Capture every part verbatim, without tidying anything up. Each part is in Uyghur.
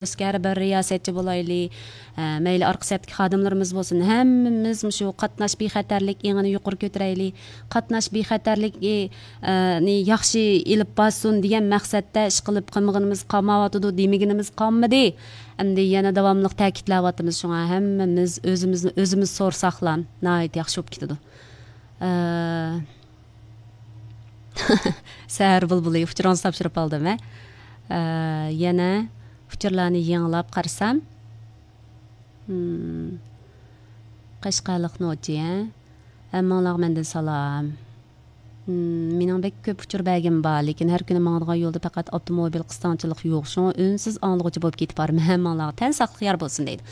ئەسكەر بىر رىياسەتچى بولايلى، ئە، مەيلى ئارقا سەپتىكى خادىملىرىمىز بولسۇن، ھەممىمىز مۇشۇ قاتناش بىخەتەرلىك ئېڭىنى يۇقىرى كۆتۈرەيلى. قاتناش بىخەتەرلىكى، ئە، نى ياخشى ئېلىپ بارسۇن دېگەن مەقسەتتە ئىش قىلىپ قىلمىغىنىمىز قالمايۋاتىدۇ، دېمىگىنىمىز قالمىدى. ئەمدى يەنە داۋاملىق تەكىتلەۋاتىمىز، شۇڭا ھەممىمىز ئۆزىمىزنى ئۆزىمىز سورىساقلا ناھايىتى ياخشى بولۇپ كېتىدۇ. ئە، سەھەر بۇلبۇلى، ئۇچۇرىڭىزنى تاپشۇرۇپ ئالدىم، ھە. ئە، يەنە ئۇچۇرلارنى يېڭىلاپ قارىسام، ھىم، قەشقەرلىق نوچى، ھە. ھەممىڭلارغا مەندىن سالام. ھىم، مېنىڭ بەك كۆپ ئۇچۇر بەرگۈم بار، لېكىن ھەر كۈنى ماڭىدىغان يولدا پەقەت ئاپتوموبىل قىستاڭچىلىق يوق، شۇڭا ئۈنسىز ئاڭلىغۇچى بولۇپ كېتىپ بارىمەن. ھەممىڭلارغا تەن ساقلىق يار بولسۇن دەيدۇ.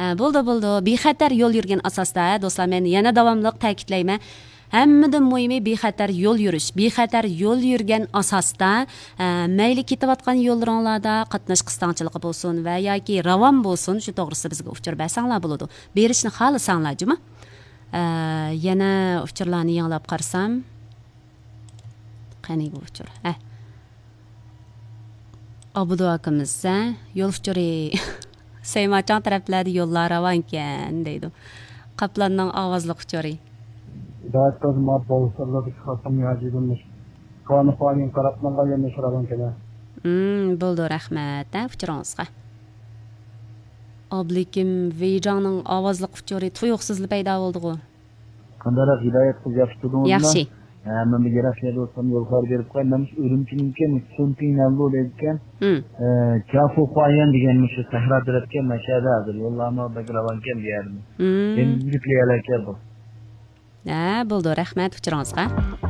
ھە، بولدى، بولدى. بىخەتەر يول يۈرگەن ئاساستا، دوستلار، مەن يەنە داۋاملىق تەكىتلەيمەن. ھەممىدىن مۇھىمى بىخەتەر يول يۈرۈش. بىخەتەر يول يۈرگەن ئاساستا، ئە، مەيلى كېتىۋاتقان يوللىرىڭلاردا قاتناش قىستاڭچىلىقى بولسۇن ۋە ياكى راۋان بولسۇن، شۇ توغرىسىدا بىزگە ئۇچۇر بەرسەڭلار بولىدۇ. بېرىشنى خالىساڭلار، جۇمۇ. ئە، يەنە ئۇچۇرلارنى يېڭىلاپ قارىسام. قېنى بۇ ئۇچۇر؟ ھە. ئابدۇ ئاكىمىز، ھە؟ يول ئۇچۇرى. سەيماچاڭ تەرەپلەردە يوللار راۋانكەن، دەيدۇ. قاپلاننىڭ ئاۋازلىق ئۇچۇرى. ھىدايەت قىلسۇن، ماۋۇ بوۋۇسلىرىدىكى خاتىن ھاجىدىن كانىخانىڭ قاراپلانغان يەرنى سورىغان كېلە. ھىم، بولدى، رەھمەت، ھە، ئۇچۇرىڭىزغا. ئابلىكىم ۋېيجاڭنىڭ ئاۋازلىق ئۇچۇرى تۇيۇقسىزلا پەيدا بولدىغۇ. قانداقراق ھىدايەت قىلىپ ياخشى تۇردىڭىزمۇ؟ ياخشى. ھە، مەن بىر يىراق يەردە ئولتۇرسام يول خەۋىرى بېرىپ قوياي. مەن مۇشۇ ئۈرۈمچىنىڭكى مۇشۇ سۈنپىڭ نەنلۇ دەيدىكەن. ھىم. ئە، چافۇخۇايەن دېگەن مۇشۇ سەھرا تەرەپكەن، مەشەدە ھازىر. يوللارمۇ بەك راۋانكەن بۇ يەردىمۇ. ھىم. ئەمدى يۈكلىيەلەيكەن بۇ. ھە، بولدى، رەھمەت ئۇچۇرىڭىزغا.